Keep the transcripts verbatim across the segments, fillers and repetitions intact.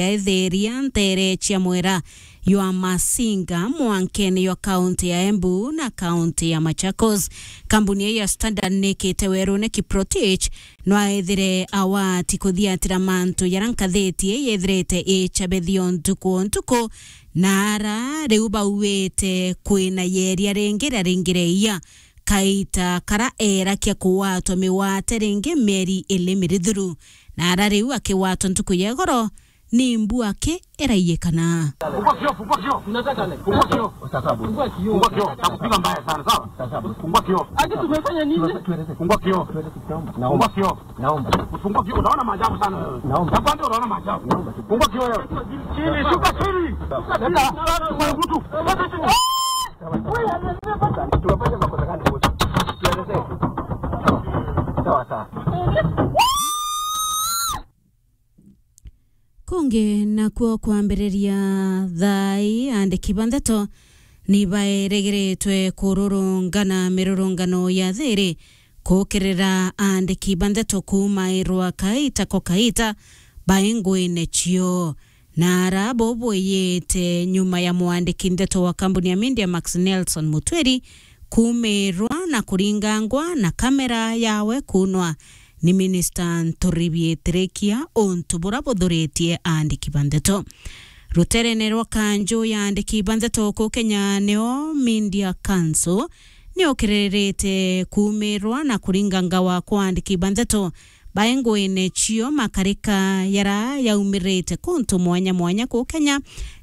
yaetheria ntere cia mwera ywa Masinga mwankene ywa kaunti ya Embu na kaunti ya Machakos. Kambuni ii ya Standard nikite werune Kiprotich no aethire awati kuthiatira mantu jaria nkathiti ii yethirite icabethio ntuku o ntuku, na ara riu bauite kwina yeria ringi ria ringi ria iya. Kaita kara eerakia kugwatwa migwate ringi mieri ili mirithuru, na ara riu akigwatwa ntuku ya igoro ni mbu aki iraiyikana. Fungua kioo, fungua kioo. Unataka nini? Fungua kioo. Fungua kioo. Fungua kioo. Takupiga mbaya sana, sawa? Fungua kioo. Ati tumefanya nini? Fungua kioo. Naomba. Fungua kioo. Naomba. Ufungue kioo, utaona maajabu sana wewe. Naomba. Nakwambia utaona maajabu. Naomba. Fungua kioo wewe. Chini, shuka chini. Leta, chukua mtu. Tumefanya makosa gani wote? Tuelezee. Sawa, sawa. Kungi nakuo kwambiriria thaa ii, aandiki ba ndeto ni baeregeretwe kururungana mirurungano ya thiiri kukirira aandiki ba ndeto kuumairwa kaita ko kaita bai nguine cio. Na ara bo bwiyite nyuma ya mwandiki ndeto wa kambuni ya Media Max Nelson Mutwiri kuumirwa na kuringangwa na kamera yawe kuunwa ni minista Nturi Biitirikia, untu bura buthuritie aandiki ba ndeto. Ruterene rwa kanju ya aandiki ba ndeto ku Kenya nio Media Council, ni ukiririte kuumirwa na kuringangawa kwa aandiki ba ndeto bai nguine cio makarika yara yaumirite kuntu mwanya mwanya ku Kenya,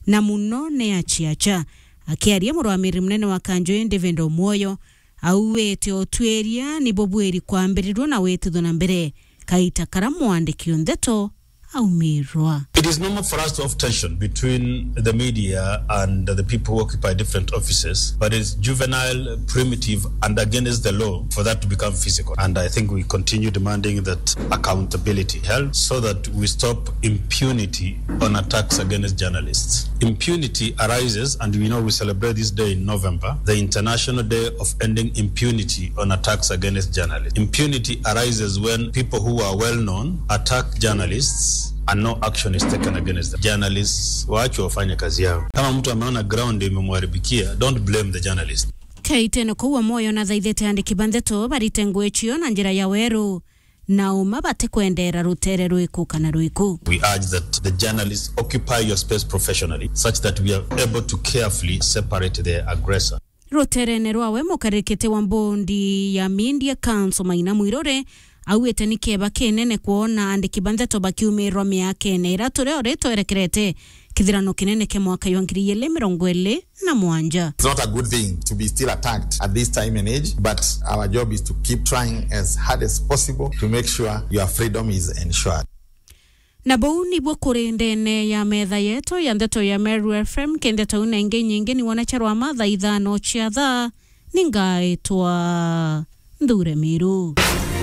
na muno ni aciaca. Akiaria murwamiri munene wa kanju ii David Omwoyo, auite utwiria ni bubwiri kwambirirua na witithua na mbere kaita kara mwandiki o ndeto aumirwa. It is normal for us to have tension between the media and the people who occupy different offices, but it's juvenile, primitive, and against the law for that to become physical. And I think we continue demanding that accountability held so that we stop impunity on attacks against journalists. Impunity arises, and we know we celebrate this day in November, the International Day of Ending Impunity on attacks against journalists. Impunity arises when people who are well known attack journalists and no action is taken against them. Journalists waachwe wafanye kazi yao. Kama mtu ameona ground imemharibikia, don't blame the journalist. Kaitene kuu Omwoyo nathaithite andiki ba ndeto barite ngugi cio na njira ya weru, na uma batikwendera rutere rwiku kana rwiku. We urge that the journalists occupy your space professionally, such that we are able to carefully separate the aggressor. Ruterene rwawe, mukarikite wa mbondi ya Media Council Maina Mwiruri auite ni kieba kinene kwona andiki ba ndeto bakiumirwa miakene ira turio ritwerekerete kithirano kinene kia mwaka jwa ngiri igiri mirongo iri na mwanja. It's not a good thing to be still attacked at this time and age, but our job is to keep trying as hard as possible to make sure your freedom is ensured. Na buu nibuo kuri ndene ya metha yetu ya ndeto ya Meru F M, ki ndeto iu na ingi nyingi ni wona charwa mathaa ithano cia thaa, ni ngaitwa Nthure Miru.